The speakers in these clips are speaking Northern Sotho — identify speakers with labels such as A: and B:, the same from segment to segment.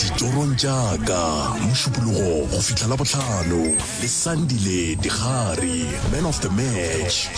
A: Ditorong tša ka, Mošupologo go fihla Labohlano le Sandile Digari, Man of the Match.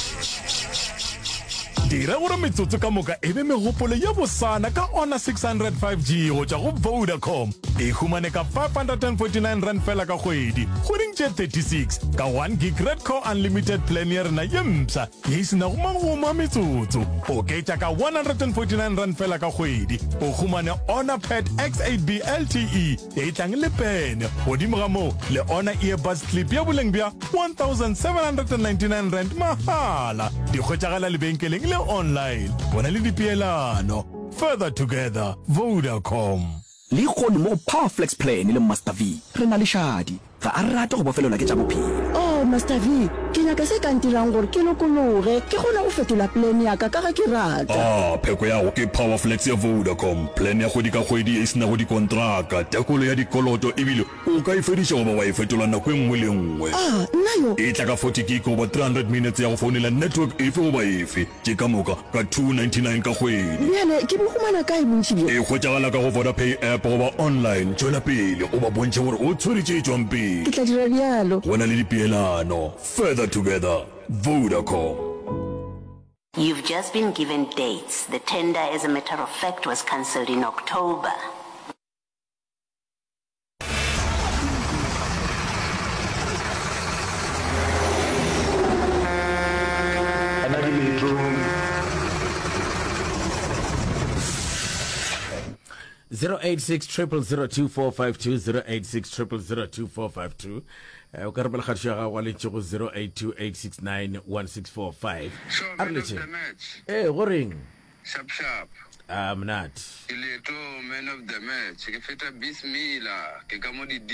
B: Dira gore metsotso ka moka e be megopolo ye bosana ka Honor 600 5G go tšwa go Vodacom. E humane ka R549 fela ka kgwedi, kgweding tše 36, ka 1 gig Redco Unlimited plan ya rena ye mpsha ye e se nago magomo a metsotso. Oketša ka R149 fela ka kgwedi, o humane Honor Pad X8B LTE ye e tlang le pene. Godimo ga moo, le Honor Earbuds Clip ya boleng bja R1799 mahala. Di hwetšagala lebenkeleng le online. Go na le dipeelano. Further together, Vodacom.
C: Lehono mo go Power Flex Plan le Master V, re na le Shadi. Ga a rate go bofelelwa ke tša bophelo.
D: Oh, Master V, ke nyaka se ka ntirang gore ke lokologe, ke kgone go fetola plan ya ka ka ge ke rata.
A: Ah, pheko ya go ke Power Flex ya Vodacom, plan ya kgwedi ka kgwedi ye e se nago dikontraka, tekolo ya dikoloto ebile o ka e fediša goba wa e fetola nako e nngwe le e nngwe.
D: Ah, nna yo!
A: E tla ka 40 gig goba 300 minutes ya go founela network efe goba efe. Tše ka moka ka 299 ka kgwedi.
D: Bjale ke bo humana kae bontši bjo?
A: E hwetšagala ka go Vodapay app goba online. Tšwela pele o ba bontšhe gore o tshwere tše tšwang pele.
D: Ke tla dira bjalo.
A: Go na le dipeelano. Further together. Vodacom.
E: You've just been given dates. The tender, as a matter of fact, was cancelled in October.
F: Ana ke leetong.
G: 086 0002452 086 0002452 Eh, o ka romela kgatišo ya gago wa lentši go 0828691645
H: So,
G: a re
H: man of
G: letše
H: the match.
G: ee go reng
H: Sharp sharp.
G: A monate.
H: Ke leetong man of the match ke feta Bismillah ke ka mo di D.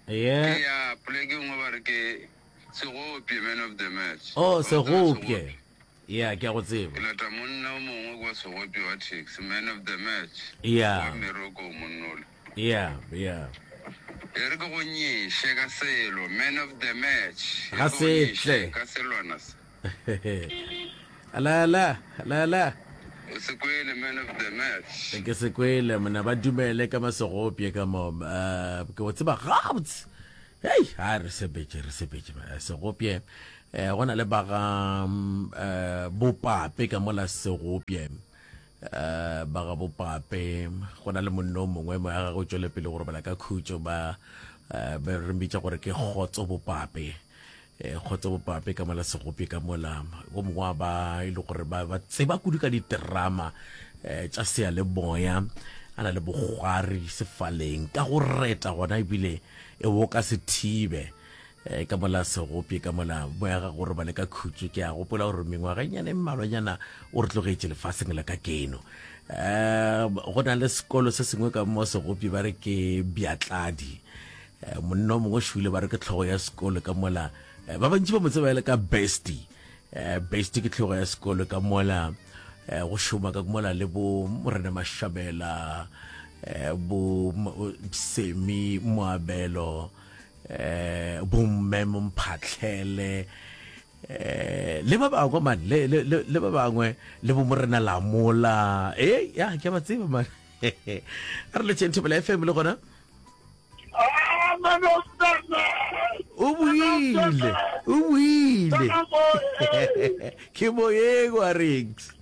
G: Yeah.
H: Ke ya poleke nngwe ba re ke Segopye man of the match.
G: Oh
H: Wa tseba
G: Segopye. Yeah ke a go tseba.
H: Ke lata monna o mongwe kwa Segopye wa taxi man of the match.
G: Yeah.
H: Wa mmereko monnola.
G: Yeah yeah.
H: E re ke go nyeše ka selo man of the match. E re
G: Ga
H: ke go
G: se
H: nyeše
G: tle.
H: ka selwana se.
G: La la la la.
H: O se kwele man of the match.
G: Ke se kwele mona ba dumele ka masegopye ka mo uh, ke o tseba gabotse. Hei, a re sepetse re sepetse segopye. Eh go na le ba ga eh bopape ka mola segopye. Eh ba ga bopape go na le monno mongwe mo ya gagwe tšwele pele go robala ka khutšo ba eh ba re mbitša gore ke kgotso bopape. Eh, kgotsa bopape ka mola segopi ka mola o mongwe wa ba e le gore ba ba tseba kudu ka diterama eh, tša seyalemoya a na le bokgwari sefaleng ka go reta gona ebile e bo ka se thibe eh, ka mola segopi ka mola moya ga gore ba le ka khutšo ke a gopola gore mengwaganyana e mmalwanyana o re tlogetše lefaseng la ka keno um go na le sekolo se sengwe ka mo segopi ba re ke bjatladi Eh, monna o mongwe šwile ba re ke tlhogo ya sekolo ka mola eh, ba bantši ba mo tseba e le ka bestie eh, bestie ke tlhogo ya sekolo ka mola go šoma ka mola le bo morena mashabela bo semi moabelo bo mme momphatlhele le ba bangwe man le le le ba bangwe le bo morena lamola e ya ke ba tseba man a re letšeng thobela fm le gona o buile o buile ke moyeng wa rings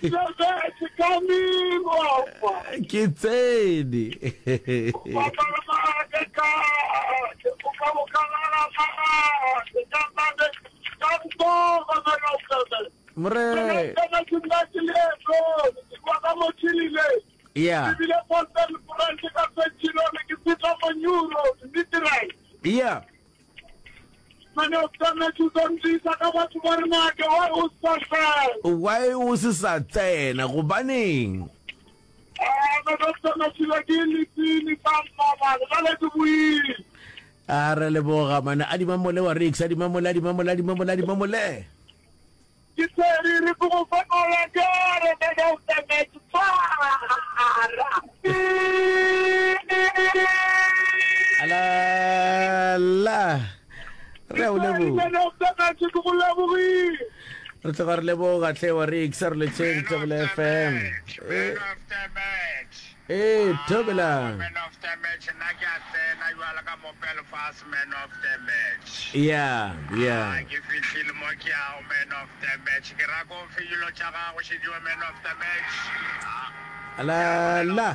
G: ke tsene more Yeah.
I: Ebile Boston Branch ka Centurion ke fihla mo New Road Midrand.
G: Yeah.
I: Mane o tsametse o tsamisa ka batho ba re nake why o sa tsena.
G: Why o se sa tsena gobaneng?
I: Ah, mane o tsametse ke letsini sa mmabale ba le ke buile.
G: A re leboga mane a di mamole wa Rix a di mamole a di mamole a di mamole a di mamole.
I: Ke tsere re go fetola kere man of the match tshwara.
G: Ala la. Re a o leboga.
I: Man of the match ke go lebogile.
G: Re tloga re leboga tlhe wa Rix a re letšeng Thobela FM.
H: Man of the match.
G: Ee, thobela.
I: Man of the match, nna ke a tsena jwale ka mo Belfast, man of the match.
G: Yeah, yeah.
I: Ah, ke fihlile mo ke yago, man of the match. Ke ra ko fe dilo tša gago, šediwa man of the match. Ah.
G: La la.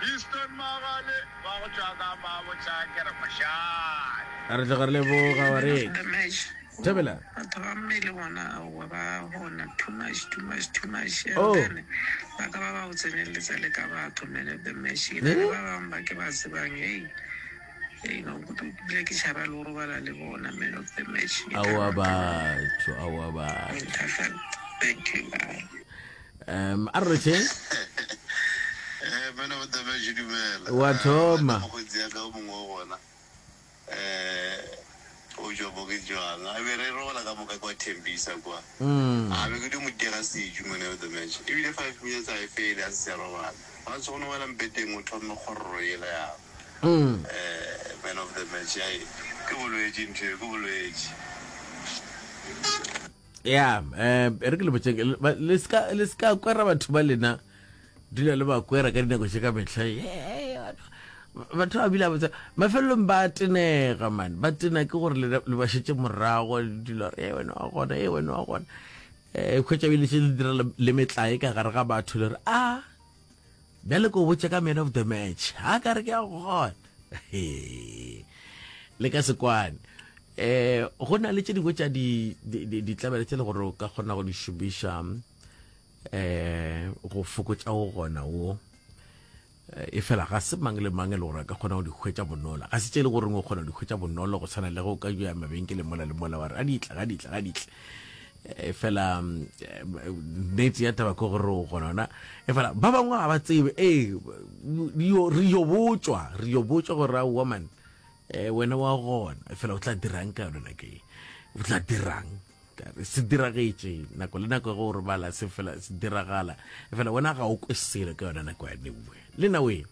I: Easton Magale, wa go tšwa ka Mabotja, ke re mošate.
G: Re tloga re leboga wa re. Thobela.
J: Batho ba mmele bona aowa ba gona too much too much too much and
G: Oh.
J: then ba ka ba ba go tseneletsa le ka batho man of the match ke na le ba bangwe ba ke ba tsebang hei hei no bile ke tšhaba le go robala le bona man of the match ke
G: Aowa
J: taba ka
G: batho, aowa batho.
J: Winterfell thank you bye
G: Um, a re rotšheng.
H: Eh, man of the match dumela.
G: Wa thoma.
H: Mokgotsi ya ka o mongwe wa gona. Eh, o tšwa mo ke jwang a be re robala ka moka kwa Thembisa kwa
G: Mm.
H: a be ke di mo dira seju man of the match ebile 5 minutes a e fele a se sa robala ba tsogo no wela mpeteng o thome kgororo yela ya
G: Mm.
H: eh man of the match ai ke bolwetši ntho e, ke bolwetši
G: ya eh e re ke le botšeng le ba- le ska le ska kwera batho ba lena dula le ba kwera ka dinako tše ka mehla Ye, batho ba bile botsa mafelelong ba tenega man ba tena ke gore le le ba šetše morago le dula re e wena wa gona e wena wa gona um khwetša bile še le dira le- le metlae ka gare ga batho le re a bjale ko botša ka man of the match ha ka re ke a gona le ka sekwane um go na le tše dingwe tša ditlabele tše le gore o ka kgona go di šomiša um go fokotša go gona wo e fela ga se mang le mang e le gore a ka kgona go di hwetša bonolo ga se tše e le goreng o kgona go di hwetša bonolo go tshwana le ge o ka ya mabenkeleng mola le mola wa re a ditla ga ditla ga ditla e fela nnete ya taba ke gore o gona ona e fela ba bangwe ga ba tsebe ee re yo botšwa re yo botšwa gore aowa man um wena wa gona e fela o tla dirang ka yone nako e o tla dirang se diragetše nako le nako ge o robala se fela se diragala fela wena ga o kwe selo ka yona nako ya neuwe le na we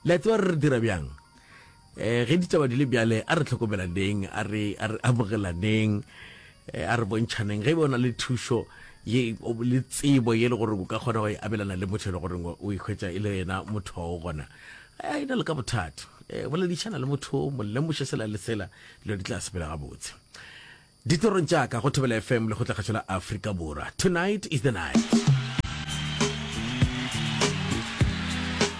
G: le a tseba re re dira bjang um ge ditaba di le bjale a re tlhokomelaneng a re a re amogelaneng eh, a re bontšhaneng ge e be o na le thušo ye le tsebo ye le gore o ka kgona go e abelana le motho e le goreng o e hwetša e le yena motho wa o gona e na le ka bothata um boledišana le motho mo lemoše sela le sela dilo di tla sepela gabotse Ditorong tša ka go Thobela FM Lekgotlakgašo la Afrika Borwa. Tonight is the night.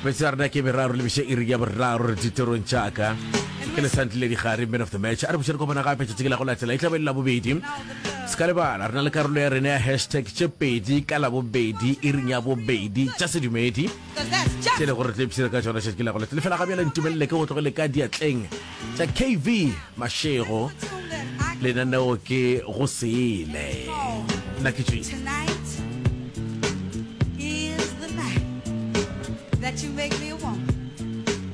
G: Metsotso ya rena ke meraro le beše iri ya boraro re ditorong tša ka. Ke le santlile digare man of the match. A re buše re kopana gape tšatši ke la go latela e tla be e le labobedi. Se ka lebala re na le karolo ya rena ya hashtag tše pedi ka labobedi iring ya bobedi tša sedumedi. Tše le gore re tlo ipshina ka tšona tšatši ke la go latela. Fela ga bjale ntumelele ke go tlogele ka diatleng tša KV Mashego lenaneo ke go sele nna ke tšwile
K: Tonight is the night that you make me want.